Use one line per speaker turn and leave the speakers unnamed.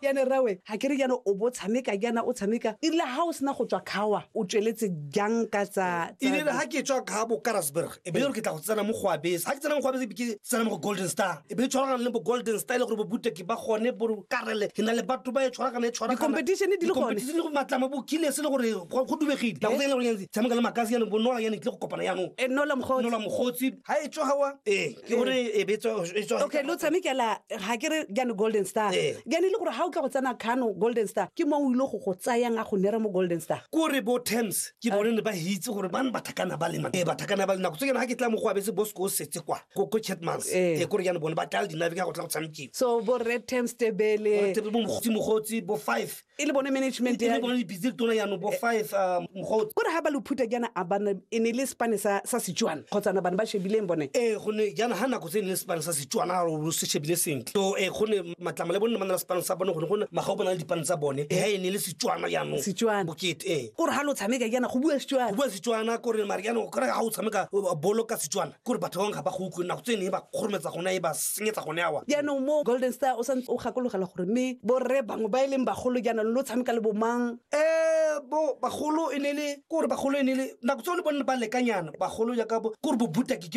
Yane rawe ga ke re jaana o bo tshameka jaana o tshameka, e rile ga o sena go tswa kgawa o tsweletse jang ka tsa
E rile ga ke tswa ka bo Karasburg, e be le gore ke tla go tsena mo Goabese. Ga ke tsena mo Goabese, be ke tsena mo go Golden Star, e be e tshwaragana le bo Golden Star, e le gore bo Buteki ba gone, bo Karele, ke na le batho ba e tshwaragana, e tshwaragana.
Di-competition di le gone.
Di-competition le go matlama bo Killers, e le gore go dubegile nako tse e le gore yanong tshameka le Makasi, yanong bo Nola, yanong tlile go kopana yanong.
E Nola Mogotsi.
Nola Mogotsi ga e tswa gawa, ee, ke gore e be e tswa.
Okay, lo tshamekela ga ke re jaanong Golden Star. Jaanong e le gore ga o tla go tsena Kano Golden Star, ke mang o ile go go tsayang a go nera mo Golden Star?
Kore bo Terms ke bone ne ba hitse gore bane bathakana ba le ee, bathakana ba le nako tse ke ga ke tla mo go abetse Bosco o setse kwa ko Chatmans. Ee, kore jaanong bone ba tlala dinabe ka go tla go tshamekiwa.
So bo Red Terms Tebele,
bo Mogotsi, Mogotsi, bo five.
E le bone management.
E le bone dipitse tona jaanong bo five, Mogotsi.
Kore ga ba lo phuta jaana, a bana e ne le sepane sa Setswana kgotsa na bane ba shebileng bone?
Ee, gonne jaana ga nako tse e ne le sepane sa Setswana o se shebile sentle. So ee, gonne Matlama le bone ba na le sepane sa bone, gone gone Magao ba na le dipane tsa bone. Ee, ga e ne le Setswana jaanong.
Setswana.
Bokete, ee.
Kore ga lo tshameka jaana go bua Setswana.
Go bua Setswana, kore mare jaanong kore ga o tshameka bolo ka Setswana, kore batho ba bangwe ga ba go utlwe, nako tse ne e ba kgorometsa gone, e ba senyetsa gone awa.
Jaanong mo Golden Star o santse o gakologela gore mme borre bangwe ba e leng bagolo jaanong lo tshameka le bomang?
Bo bagolo e ne le kore bagolo e ne le nako tse le bone ba lekanyana bagolo jaaka bo kore bo Butaki.